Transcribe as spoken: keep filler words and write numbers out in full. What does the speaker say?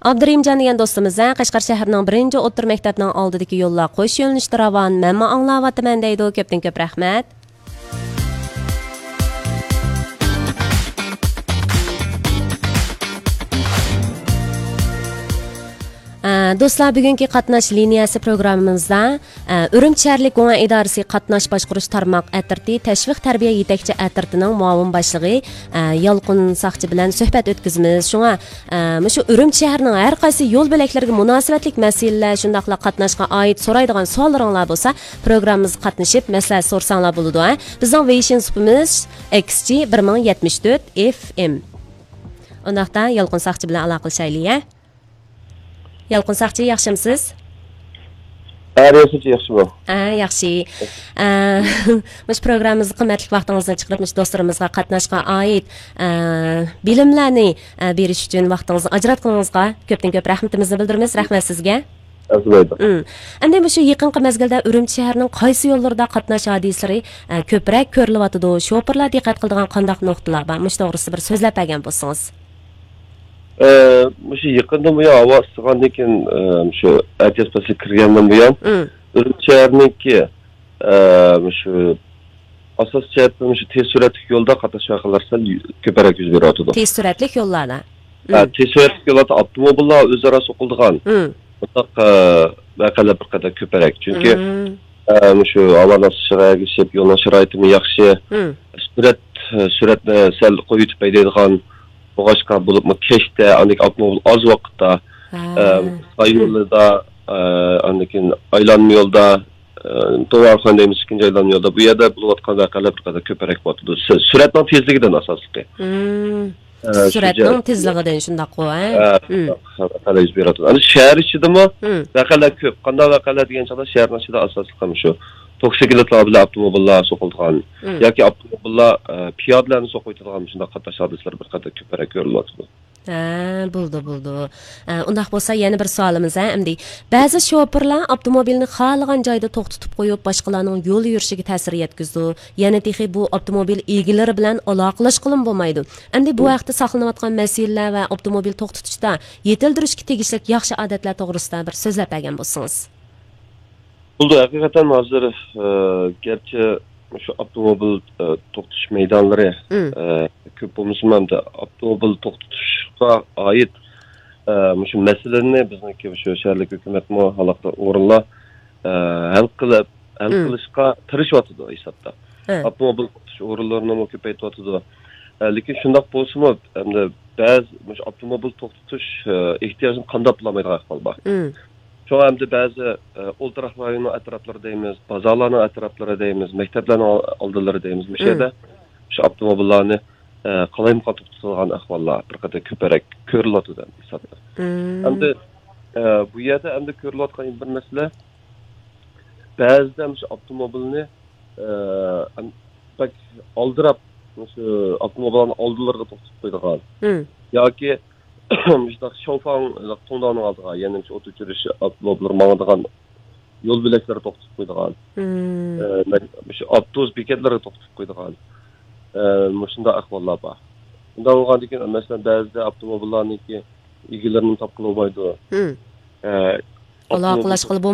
ئابدۇرېھىمجان دېگەن دوستىمىز، ھە، قەشقەر شەھىرىنىڭ بىرىنچى ئوتتۇرا مەكتەپنىڭ ئالدىدىكى يوللار قوش يۆنىلىشتە راۋان، مەنمۇ ئاڭلاۋاتىمەن دەيدۇ. كۆپتىن كۆپ رەھمەت. ئە، دوستلار، بۈگۈنكى قاتناش لىنىيەسى پروگراممىمىزدا، ئە، ئۈرۈمچى شەھەرلىك گۇڭئەن ئىدارىسى قاتناش باشقۇرۇش تارماق ئەترىتى تەشۋىق تەربىيە يېتەكچى ئەترىتىنىڭ مۇئاۋىن باشلىقى، ئە، يالقۇن ساقچى بىلەن سۆھبەت ئۆتكۈزىمىز. شۇڭا، ئە، مۇشۇ ئۈرۈمچى شەھىرىنىڭ ھەر قايسى يول بۆلەكلىرىگە مۇناسىۋەتلىك مەسىلىلەر، شۇنداقلا قاتناشقا ئائىت سورايدىغان سوئاللىرىڭلار بولسا، پروگراممىمىزغا قاتنىشىپ مەسلىھەت سورىساڭلار بولىدۇ، ھە. بىزنىڭ ۋېيشىن سۇپىمىز ئېكس جى بىر مىڭ يەتمىش تۆت ئېف ئېم. ئۇنداقتا يالقۇن ساقچى بىلەن ئالاقىلىشايلى، ھە. يالقۇن ساقچى، ياخشىمسىز؟ ھە، رىياسەتچى، ياخشىمۇ؟ ھە، ياخشى. ئە، مۇشۇ پروگراممىمىزغا قىممەتلىك ۋاقتىڭىزنى چىقىرىپ، مۇشۇ دوستلىرىمىزغا قاتناشقا ئائىت، ئە، بىلىملەرنى، ئە، بېرىش ئۈچۈن ۋاقتىڭىزنى ئاجراتقىنىڭىزغا كۆپتىن كۆپ رەھمىتىمىزنى بىلدۈرىمىز. رەھمەت سىزگە. ئەزىمەيدۇ. ئىم. ئەمدى مۇشۇ يېقىنقى مەزگىلدە ئۈرۈمچى شەھىرىنىڭ قايسى يوللىرىدا قاتناش ھادىسىلىرى، ئە، كۆپرەك كۆرۈلۈۋاتىدۇ؟ شوپۇرلار دىققەت قىلىدىغان قانداق نۇقتىلار بار؟ مۇشۇ توغرىسىدا بىر سۆزلەپ بەرگەن بولسىڭىز. ئە، مۇشۇ يېقىندىن بۇيان، ھاۋا ئىسسىغاندىن كېيىن، ئە، مۇشۇ ئەتىياز پەسلى كىرگەندىن بۇيان، مم. ئۈرۈمچى شەھىرىنىڭكى، ئە، مۇشۇ ئاساسىي جەھەتتىن مۇشۇ تېز سۈرئەتلىك يولدا قاتناش ۋەقەلىرى سەل يۈ-، كۆپرەك يۈز بېرىۋاتىدۇ. تېز سۈرئەتلىك يوللاردا. ھە، مم. تېز سۈرئەتلىك يوللاردا ئاپتوموبىللار ئۆزئارا سوقۇلىدىغان مم. بۇنداق، ئە، ۋەقەلەر بىر قەدەر كۆپرەك. چۈنكى، مم. ئە، مۇشۇ ھاۋانىڭ ئىسسىشىغا ئەگىشىپ، يولنىڭ شارائىتىمۇ ياخشى. مم. سۈرئەت، سۈرئەتنى سەل قويۇۋېتىپ ھەيدەيدىغان بولغاچقا، بولۇپمۇ كەچتە، ئاندىن كېيىن ئاپتوموبىل ئاز ۋاقىتتا، ھە. ئە، ساي يولىدا، ئە، ئاندىن كېيىن ئايلانما يولدا، ئە، دوۋارخان دەيمىز، ئىككىنچى ئايلانما يولدا. بۇ يەردە بولۇۋاتقان ۋەقەلەر بىر قەدەر كۆپرەك بولۇۋاتىدۇ. سۈ-، سۈرئەتنىڭ تېزلىكىدىن ئاساسلىقى. مم. ئە، شۇ سۈرئەتنىڭ جەھەت-، تېزلىكىدىن، شۇنداققۇ، ھە؟ ھە، مم. شۇنداق ۋەقەلەر يۈز بېرىۋاتىدۇ. ئەمدى شەھەر ئىچىدىمۇ مم. ۋەقەلەر كۆپ. قانداق ۋەقەلەر دېگەن چاغدا، شەھەرنىڭ ئىچىدە ئاساسلىقى مۇشۇ توكسىكلىتلار بىلەن ئاپتوموبىللار سوقۇلىدىغان مم. ياكى ئاپتوموبىللار، ئە، پىيادىلەرنى سوقۇۋېتىدىغان مۇشۇنداق قاتناش ھادىسىلىرى بىر قەدەر كۆپرەك كۆرۈلۈۋاتىدۇ. ھە، بولدى، بولدى. ئە، ئۇنداق بولسا يەنە بىر سوئالىمىز، ھە، ئەمدى. بەزى شوپۇرلار ئاپتوموبىلنى خالىغان جايدا توختىتىپ قويۇپ، باشقىلارنىڭ يول يۈرۈشىگە تەسىر يەتكۈزىدۇ. يەنە تېخى بۇ ئاپتوموبىل ئىگىلىرى بىلەن ئالاقىلەشكىلىمۇ بولمايدۇ. ئەمدى بۇ مم. ھەقتە ساقلىنىۋاتقان مەسىلىلەر ۋە ئاپتوموبىل توختىتىشتا يېتىلدۈرۈشكە تېگىشلىك ياخشى ئادەتلەر توغرىسىدا بىر سۆزلەپ بەرگەن بولسىڭىز. بولدى، ھەقىقەتەن ھازىر، ئە، گەرچە شۇ ئاپتوموبىل، ئە، توختىتىش مەيدانلىرى، مم. ئە، كۆپ بولمىسىمۇ، ئەمدى ئاپتوموبىل توختىتىشقا ئائىت، ئە، مۇشۇ مەسىلىنى بىزنىڭكى شۇ شەھەرلىك ھۆكۈمەتمۇ، ھالاقىدار ئورۇنلار، ئە، ھەل قىلىپ، ھەل مم. قىلىشقا تىرىشىۋاتىدۇ ھېسابتا. ھە. ئاپتوموبىل توختىتىش ئورۇنلىرىنىمۇ كۆپەيتىۋاتىدۇ. ئە، لېكىن شۇنداق بولسىمۇ، ئەمدى بەزى مۇشۇ ئاپتوموبىل توختىتىش، ئە، ئېھتىياجىنى قامداپ بولالمايدىغان ئەھۋال بار. مم. شۇڭا ئەمدى بەزى، ئە، ئولتۇراق رايونىنىڭ ئەتراپلىرى دەيمىز، بازارلارنىڭ ئەتراپلىرى دەيمىز، مەكتەپلەرنىڭ ئال-، ئالدىلىرى دەيمىز، مۇشۇ مم. يەردە شۇ ئاپتوموبىللارنى، ئە، قالايمىقان توختىتىدىغان ئەھۋاللار بىر قەدەر كۆپرەك كۆرۈلۈۋاتىدۇ ھېسابتا. مم. ئەمدى، ئە، بۇ يەردە ئەمدى كۆرۈلۈۋاتقان بىر مەسىلە، بەزىدە مۇشۇ ئاپتوموبىلنى، ئە، ئەم-، بەك ئالدىراپ، مۇشۇ ئاپتوموبىللارنىڭ ئالدىلىرىغا توختىتىپ قويىدىغان. مم. ياكى مۇشۇنداق شاۋفاڭ، توڭداۋنىڭ ئالدىغا، يەنى مۇشۇ ئوت ئۆچۈرۈش ئاپتوموبىللىرى ماڭىدىغان يول بۆلەكلىرىگە توختىتىپ قويىدىغان. مم. ئە، مەن-، مۇشۇ ئاپتوبۇس بېكەتلىرىگە توختىتىپ قويىدىغان. ئە، مۇشۇنداق ئەھۋاللار بار. ئۇنداق بولغاندىكىن، مەسىلەن، بەزىدە ئاپتوموبىللارنىڭكى ئىگىلىرىنى تاپقىلى بولمايدۇ. مم. ئە، ئاپتوموبىل ئالاقىلەشكىلى